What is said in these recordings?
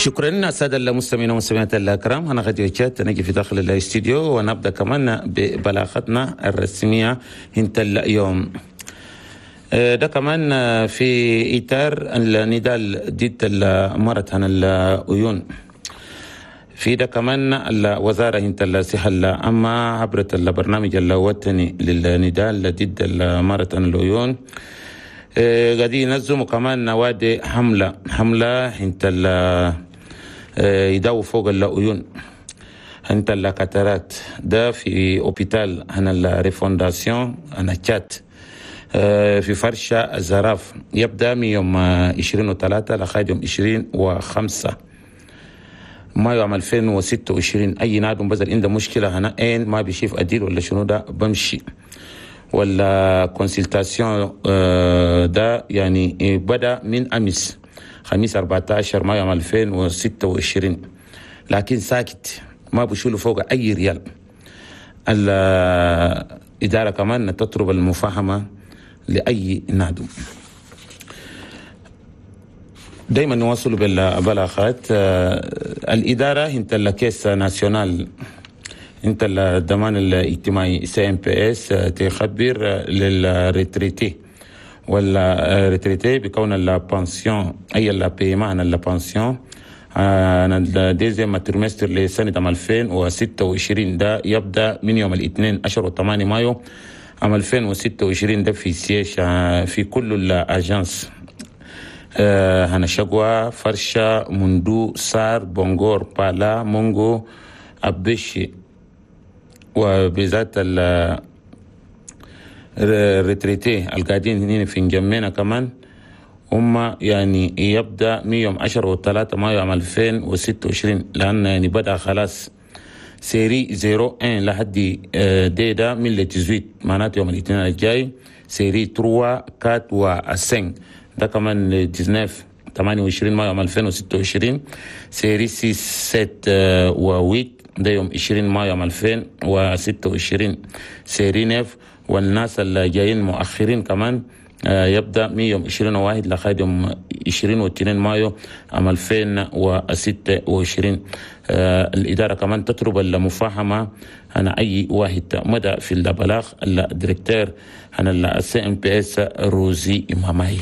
شكرا السادة المستمعين والمستمعات الكرام. أنا غادي وجات نجي في داخل الاستديو ونبدأ كمان ببلاغتنا الرسمية انت اليوم. ده كمان في إطار النضال ضد المرض عن العيون. في ده كمان الوزارة انت الصحة العامة عبر البرنامج الوطني للنضال ضد المرض عن العيون قاعدين ينظموا كمان نوادي حملة انت يداووا فوق العيون انت ال cataracte ده في hôpital هنا ال refondation هنا تشات في فرشة الزراف، يبدأ من يوم 23 لغاية يوم 25 مايو عام 2026. أي نادم بزل عنده مشكلة هنا عين ما بيشوف أديل ولا شنو ده بمشي ولا consultation ده يعني بدأ من أمس خميس 14 مايو عام 2026، لكن ساكت ما بشيلوا فوق أي ريال. الإدارة كمان تطلب المفاهمة لأي نادم. دايما نواصل بالبلاغات. الإدارة انت ال caisse nationale انت الضمان الاجتماعي CNPS تخبر لل retraités ولا retraités بكون la pension اي ال paiement عن la pension عن ال deuxième trimestre لسنة 2026 ده يبدأ من يوم الاثنين 10 8 مايو عام 2026، ده في siège في كل ال agences هنا شقوة، فرشة، مندو، سار، بونغور، بالا، مونغو، أبشي، وبذات ال retraités القاعدين هنا في نجمينا كمان هم يعني يبدأ من يوم 10 و3 مايو عام 2026، لأن يعني بدأ خلاص série 01 لحد دي ده من le 18، معناته يوم الاثنين الجاي، série 3 4 و 5 ده كمان 19 28 مايو عام 2026، série 6 7 و 8 ده يوم 20 مايو عام 2026، série 9 والناس اللي جايين مؤخرين كمان يبدأ من يوم 21 لغاية يوم 22 مايو عام 2026. الإدارة كمان تطلب المفاهمة أنا أي واحد مدى في البلاغ ال directeur عن ال CNPS روزي ماماي.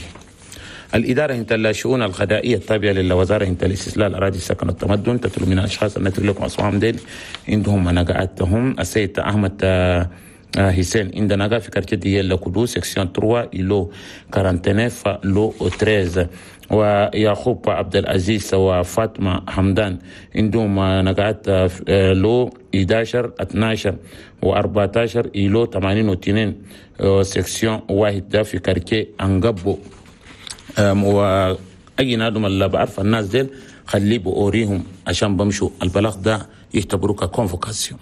الإدارة انت الشؤون القضائية التابعة للوزارة انت الاستصلاح الأراضي السكن والتمدن تطلب من الأشخاص التي لكم أصوام ديل عندهم نقعتهم السيد أحمد حسين عندنا في quartier ديال كودو section 3 îlot 49 lot 13، ويعقوب عبد العزيز وفاطمة حمدان عندهم نقعات lot 11 12 و14 îlot 82 section 1 في quartier أنقبو. واي نادم اللي بعرف الناس ديل خليه بأوريهم عشان بمشوا البلاغ ده يعتبروه ك convocation.